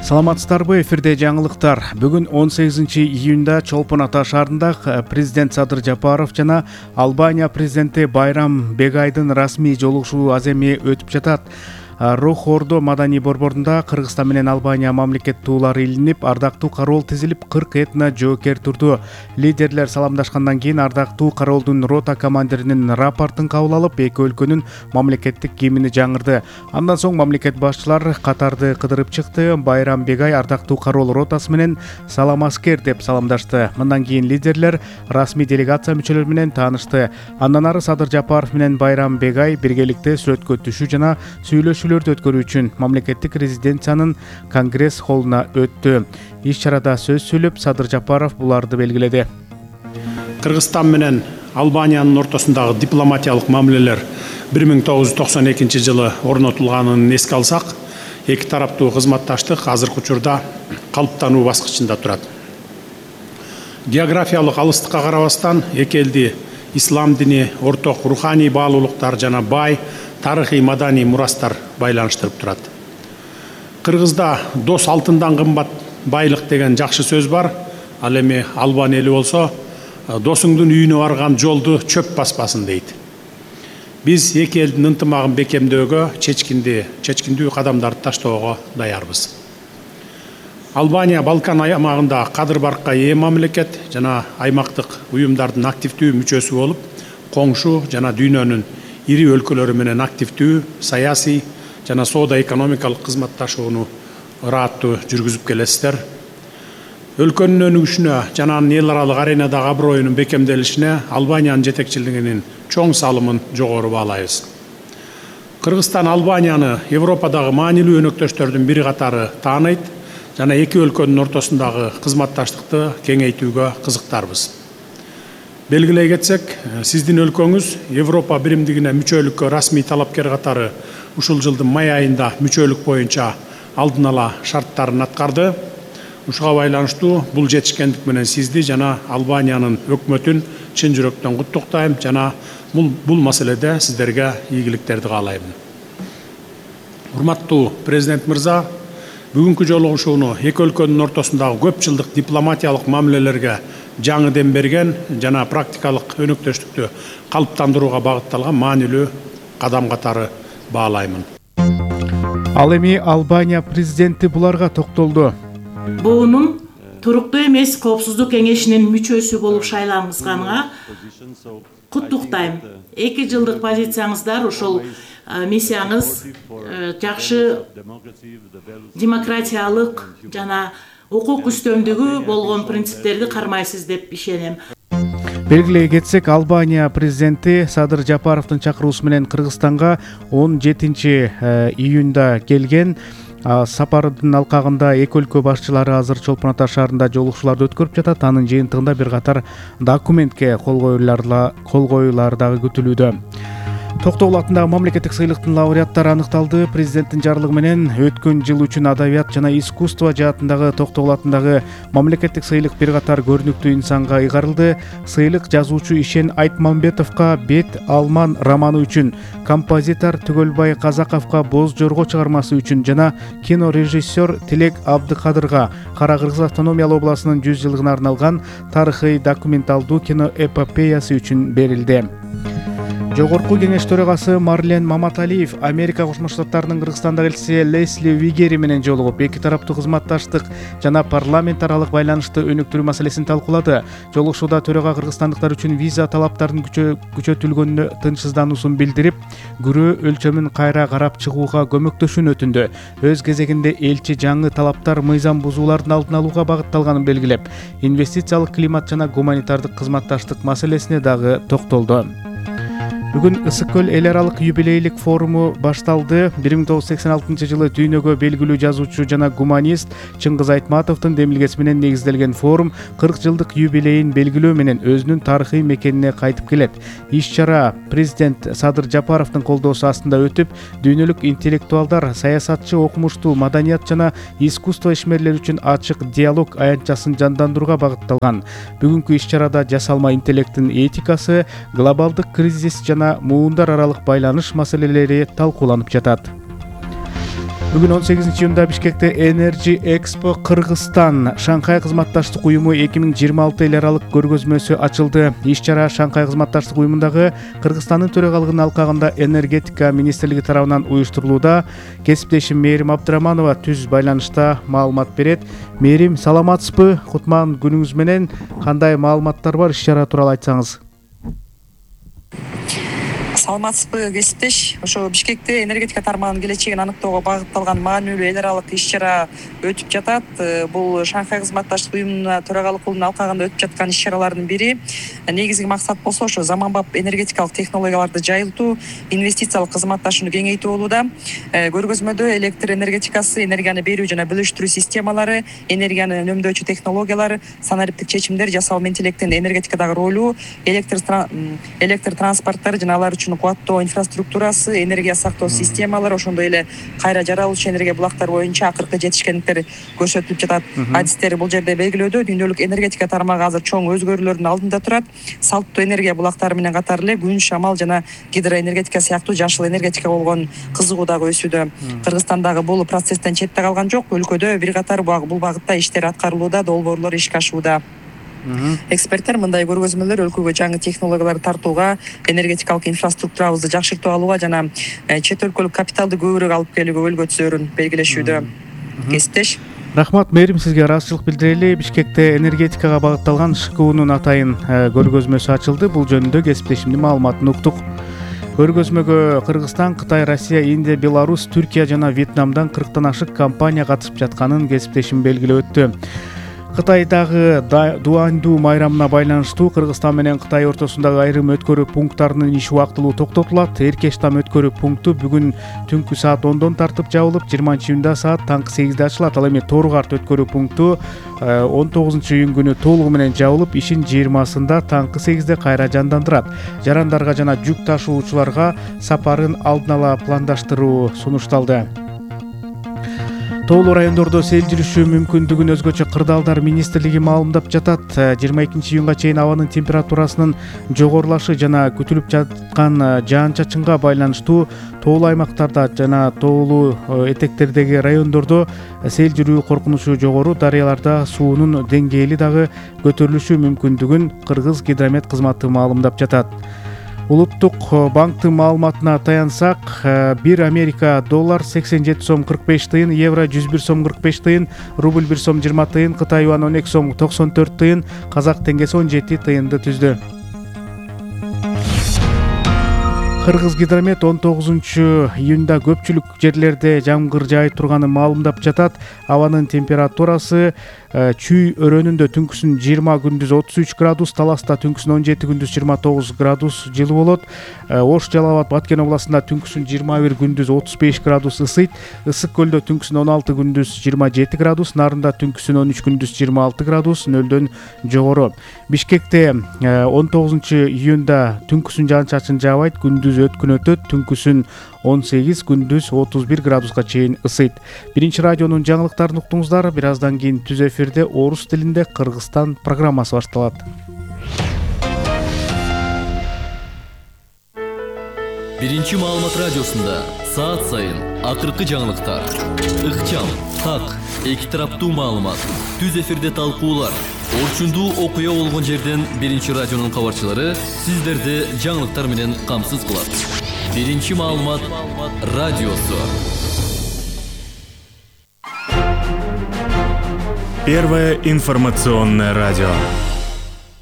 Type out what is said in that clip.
Саламатсыздарбы, эфирде жаңылыктар. Бүгүн 18-июнда Чолпон Ата шаарында президент Садыр Жапаров жана Албания президенти Байрам Бегайдын расмий жолугушуу аземи өтүп жатат. Рохордо маданий борборунда Кыргызстан менен Албания мамлекеттуулары илинип, ардактуу кароол тизилип, 40 этно жоокер турду. Лидерлер саламдашкандан кийин ардактуу кароолдун рота командиринин рапортун кабыл алып, эки өлкөнүн мамлекеттик гимни жаңырды. Андан соң мамлекет башчылар катарды кыдырып чыкты. Байрам Бегай ардактуу кароол ротасы менен салам аскер деп саламдашты. Мындан кийин лидерлер расмий делегация мүчөлөрү менен таанышты. Андан ары Садыр Жапаров менен Байрам Бегай биргеликте сүрөткө түшүү жана сүйлөшүү өткөрүү үчүн мамлекеттик резиденциянын конгресс холлуна өттү. Иш-чарада сөз сүйлөп Садыр Жапаров буларды белгиледи. Кыргызстан менен Албаниянын ортосундагы дипломатиялык мамилелер 1992 жылы орнотулганын эске алсак, эки тараптуу кызматташтык азыркы учурда калыптануу баскычында турат. Географиялык алыстыкка карабастан эки элди ислам дини, орток руханий баалуулуктар жана бай тарыхый маданий мурастар байланыштырып турат. Кыргызда дос алтындан кымбат байлык деген жакшы сөз бар. Ал эми Албан эли болсо, досуңдун үйүнө барган жолду чөп баспасын дейт. Биз эки элдин ынтымагын бекемдөөгө, чечкиндүү кадамдарды таштоого даярбыз. Албания Балкан аймагында кадыр баркка ээ мамлекет жана аймактык уюмдардын активдүү мүчөсү болуп, коңшу жана дүйнөнүн ири өлкөлөрү менен активдүү саясий жана соода-экономикалык кызматташууну ырааттуу жүргүзүп келесиздер. Өлкөнүн өнүгүшүнө жана анын эл аралык аренадагы аброюнун бекемделишине Албаниянын жетекчилигинин чоң салымын жогору баалайбыз. Кыргызстан Албанияны Европадагы маанилүү өнөктөштөрдүн бири катары тааныйт жана эки өлкөнүн ортосундагы кызматташтыкты кеңейтүүгө кызыктарбыз. Белгилей кетсек, сиздин өлкөңүз Европа биримдигине мүчөлүккө расмий талапкер катары ушул жылдын май айында мүчөлүк боюнча алдын ала шарттарын аткарды. Ушуга байланыштуу бул жетишкендик менен сизди жана Албаниянын өкмөтүн чын жүрөктөн куттуктайм жана бул маселеде сиздерге ийгиликтерди каалайм. Урматтуу президент мырза, бүгүнкү жолугушууну эки өлкөнүн ортосундагы көп жылдык дипломатиялык мамилелерге жаңы дем берген жана практикалык өнөктөштүктү калыптандырууга багытталган маанилүү кадам катары баалаймын. Ал эми Албания президенти буларга токтолду. Буунун туруктуу эмес коопсуздук кеңешинин мүчөсү болуп шайлангызганга куттуктайм. 2 жылдык позицияңыздар ошол миссияңыз жакшы демократиялык жана укук үстөмдүгү болгон принциптерди кармайсыз деп ишенем. Белгилей кетсек, Албания президенти Садыр Жапаровдун чакыруусу менен Кыргызстанга 17-июнда келген. Сапардын алкагында эки өлкө башчылары азыр Чолпон Ата шаарында жолугушууларды өткөрүп жатат. Анын жыйынтыгында бир катар документке кол коюулар дагы күтүлүүдө. Токтогул атындагы мамлекеттик сыйлыктын лауреаттары аныкталды. Президенттин жарлыгы менен өткөн жыл үчүн адабият жана искусство жаатындагы Токтогул атындагы мамлекеттик сыйлык бир катар көрүнүктүү инсанга ыйгарылды. Сыйлык жазуучу Ишен Айтмамбетовго Бет Алман романы үчүн, композитор Түгөлбай Казаковго Боз Жорго чыгармасы үчүн жана кинорежиссер Тилек Абдыкадырга Кара Кыргыз автономиялык областынын 100 жылдыгына арналган тарыхый документалдуу киноэпопеясы үчүн берилди. Жогорку кеңеш төрагасы Марлен Маматалиев Америка Кошмо Штаттарынын Кыргызстандагы элчиси Лесли Вигери менен жолугуп, эки тараптуу кызматташтык жана парламент аралык байланышты өнүктүрүү маселесин талкуулады. Жолугушууда төрага кыргызстандыктар үчүн виза талаптарынын күчөтүлгөнүнө тынчсыздануусун билдирип, күрөө өлчөмүн кайра карап чыгууга көмөктөшүүнү өтүндү. Өз кезегинде элчи жаңы талаптар мыйзам бузуулардын алдын алууга багытталганын белгилеп, инвестициялык климат жана гуманитардык кызматташтык маселесине дагы токтолду. Бүгүн Ысык көл эл аралык юбилейлик форуму башталды. 1986 жылы дүйнөгө белгилүү жазуучу жана гуманист Чыңгыз Айтматовдун демилгеси менен негизделген форум 40 жылдык юбилейин белгилөө менен өзүнүн тарыхый мекенине кайтып келет. Иш-чара президент Садыр Жапаровдун колдоосу астында өтүп, дүйнөлүк интеллектуалдар, саясатчы, окумуштуу, маданият жана искусство ишмерлери үчүн ачык диалог аянтчасын жандандырууга багытталган. Бүгүнкү иш-чарада жасалма интеллекттин этикасы, глобалдык кризис жана муундар аралык байланыш маселелери талкууланып жатат. Бүгүн 18-июнда Бишкекте Energy Expo Кыргызстан Шанхай кызматташтык уюму 2026 эл аралык көргөзмөсү ачылды. Иш-чара Шанхай кызматташтык уюмундагы Кыргызстандын төрагалыгынын алкагында энергетика министрлиги тарабынан уюштурулууда. Кесиптешим Мээрим Абдыраманова түз байланышта маалымат берет. Мээрим, саламатсызбы? Кутман күнүңүз менен. Кандай маалыматтар бар иш-чара тууралуу айтсаңыз? Саламатсызбы, кесиптеш. Ошо Бишкекте энергетика тармагынын келечегин аныктоого багытталган маанилүү эл аралык иш-чара өтүп жатат. Бул Шанхай кызматташтык уюмуна төрагалык кылуунун алкагында өтүп жаткан иш-чаралардын бири. Негизги максат болсо ошо заманбап энергетикалык технологияларды жайылтуу, инвестициялык кызматташууну кеңейтүү болууда. Көргөзмөдө электр энергетикасы, энергияны берүү жана бөлүштүрүү системалары, энергияны үнөмдөөчү технологиялар, санариптик чечимдер, жасалма интеллекттин энергетикадагы ролу, электр транспорттор жана алар үчүн кубаттоо инфраструктурасы, энергия сактоо системалары, ошондой эле кайра жаралуучу энергия булактары боюнча акыркы жетишкендиктер көрсөтүлүп жатат. Адистер бул жерде белгилөөдө дүйнөлүк энергетика тармагы азыр чоң өзгөрүүлөрдүн алдында турат. Салттуу энергия булактары менен катар эле күн, шамал жана гидроэнергетика сыяктуу жашыл энергетикага болгон кызыгуу дагы өсүүдө. Кыргызстандагы бул процесстен четте калган жок. Өлкөдө бир катар бул багытта иштер аткарылууда, долбоорлор ишке ашууда. Эксперттер мындай көргөзмөлөр өлкөгө жаңы технологияларды тартууга, энергетикалык инфраструктурабызды жакшыртып алууга жана чет өлкөлүк капиталды көбүрөөк алып келүүгө өлгө түсөөрүн белгилешүүдө. Кесиптеш. Рахмат Мээрим, сизге ыраазычылык билдирели. Бишкекте энергетикага багытталган ШКУнун атайын көргөзмөсү ачылды. Бул жөнүндө кесиптешимдин маалыматын уктук. Көргөзмөгө Кыргызстан, Кытай, Россия, Индия, Беларусь, Түркия жана Вьетнамдан 40тан ашык компания катышып жатканын кесиптешим белгилеп өттү. Кытайдагы Дуандуу майрамына байланыштуу Кыргызстан менен Кытай ортосундагы айрым өткөрүү пункттарынын иши убактылуу токтотулат. Эркештам өткөрүү пункту бүгүн түнкү саат 10дон тартып жабылып, 20-июнда саат таңкы 8де ачылат. Ал эми Торгарт өткөрүү пункту 19-июнь күнү толугу менен жабылып, ишин 20-сында таңкы 8де кайра жандандырат. Жарандарга жана жүк ташуучуларга сапарын алдын ала пландаштыруу сунушталды. Тоолуу райондордо сел жүрүшү мүмкүндүгүн өзгөчө кырдаалдар министрлиги маалымдап жатат. 22-июнга чейин абанын температурасынын жогорулашы жана күтүлүп жаткан жаан-чачынга байланыштуу тоолуу аймактарда жана тоолуу этектердеги райондордо сел жүрүү коркунучу жогору, дарыяларда суунун деңгээли дагы көтөрүлүшү мүмкүндүгүн Кыргыз гидромет кызматы маалымдап жатат. Улуттук банктын маалыматына таянсак, 1 Америка доллар 87 сом 45 тыйын, евро 101 сом 45 тыйын, рубль 1 сом 20 тыйын, Кытай юан 12 сом 94 тыйын, казак теңгеси 17 тыйынды түздү. Кыргыз гидромет 19-июнда көпчүлүк жерлерде жамгыр жаай турганын маалымдап жатат. Абанын температурасы Чүй өрөөнүндө түнкүсүн 20, күндүз 33 градус, Таласта түнкүсүн 17, күндүз 29 градус жылы болот. Ош, Жалал Абад, Баткен областында түнкүсүн 21, күндүз 35 градус ысыйт. Ысык көлдө түнкүсүн 16, күндүз 27 градус, Нарында түнкүсүн 13, күндүз 26 градус, нөлдөн жогору. Бишкекте 19-июнда түнкүсүн жаан-чачын жаабайт, күндүз өткүн өтөт, түнкүсүн 18, күндүз 31 градуска чейин ысыйт. Биринчи радионун жаңылыктарын уктуңуздар. Бир аздан кийин түз эфирде орус тилинде Кыргызстан программасы башталат. Биринчи маалымат радиосунда саат сайын акыркы жаңылыктар, ыкчам, так, эки тараптуу маалымат, түз эфирде талкуулар, орчундуу окуя болгон жерден биринчи радионун кабарчылары сиздерди жаңылыктар менен камсыз кылат. Биринчи маалымат радиосу. Первое информационное радио.